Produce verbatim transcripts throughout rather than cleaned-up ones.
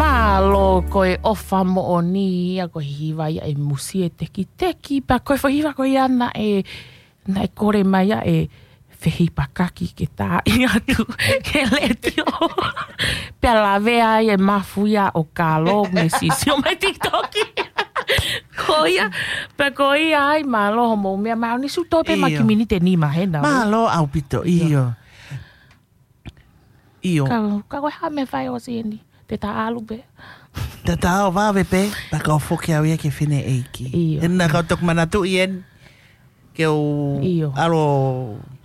Mālō, ko e ʻofa moʻoni ia, ko e hiva ia ʻe Musi e Tekiteki, pea ko e foʻi hiva ko ia naʻe, naʻe kole mai ia ʻe Fehipakaki ke tā atu ki he letiō. Pea lavea ai e mafu ia ʻo Kalo, mei Sisio mai TikTok. Ko ia, pea ko ia ai, mālō hoʻomou meʻa mai, ʻo ne sio tō pē ma Io. ki miniti ʻe nima hena. Mālō ʻaupito, ʻIo. ʻio. ʻIo. Ka, ka ko e hā e meʻa ʻe fai ʻosi eni. Te ta ʻalu pē. Te ta ō vave pē, pea ka ō foki au ia ki he fineʻeiki. ʻIo. He naʻa ku toki manatuʻi eni, ke u ʻIo. ʻalu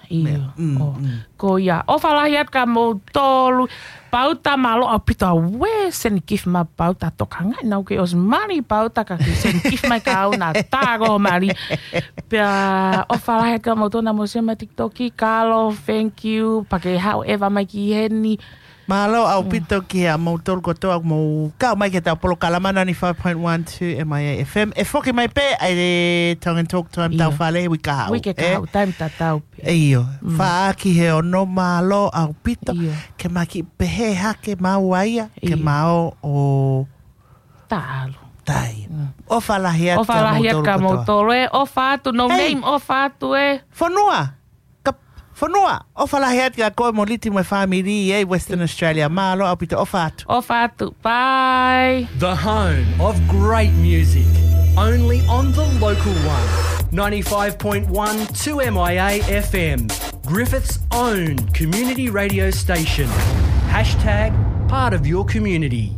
ʻIo. meʻa. Mm, ʻO. mm. Ko ia. ʻOfa lahi atu kia moutolu. Pauta, mālō ʻaupito ʻa e send gift mai Pauta, tokangaʻi naʻa ku kei ʻosi mali Pauta ka ke send gift mai kia au, naʻa tā ko e mali. Pea ʻofa lahi atu kia moutolu naʻa mou sio mai TikTok, Kalo, thank you, pea ke haʻu ʻeva mai ki heni. Mālō ʻaupito kia moutolu kotoa mou kau mai ki heʻetau polokalama ninety-five point one two M I A F M. ʻE foki mai pē ʻa e Tongan Talk Time ʻIo. tau fale he uike kahaʻu. Uike ʻE? kahaʻu, taimi tatau pē. ʻIo. Mm. Fā ki he ono, mālō ʻaupito. ʻIo. Ke ma kiʻi pehē hake maua ia, ke ʻIo. ma ō ʻo Talu. tai. Mm. ʻOfa lahi atu ʻOfa kia lahi atu moutolu kia kotoa. moutolu ē. ʻOfa atu, no Hei. name, ʻofa atu ē. Fonua. Ka, Fonua, ʻofa lahi atu kia koe mo Liti mo e fāmili ʻi Western Australia. Mālō ʻaupito, ʻofa atu. ʻOfa atu. Bye. The home of great music, only on the local one. Ninety-five point one two M I A F M, Griffith's own community radio station. Hashtag part of your community.